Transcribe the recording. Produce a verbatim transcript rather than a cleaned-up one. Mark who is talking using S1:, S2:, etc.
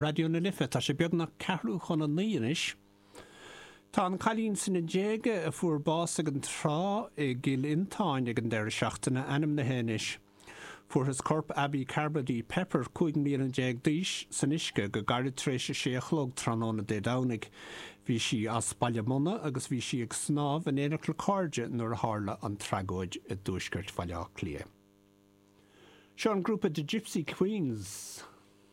S1: Raidió na Life, tá sé beagnach ceathrú chun a naoi anois. Tá an cailín sna déaga a fuair bás ag an trá i gCill Fhionntáin ag an deireadh seachtaine ainmnithe anois. Fuarthas corp Abbie Carbody Pepper cúig mbliana déag d'aois san uisce go gairid tar éis a sé a chlog tráthnóna Dé Domhnaigh. Bhí sí as Baile Munna agus bhí sí ag snámh in éineacht le cairde nuair a tharla an tragóid i dtuaisceart Bhaile Átha Cliath. Seo an grúpa The Gypsy Queens.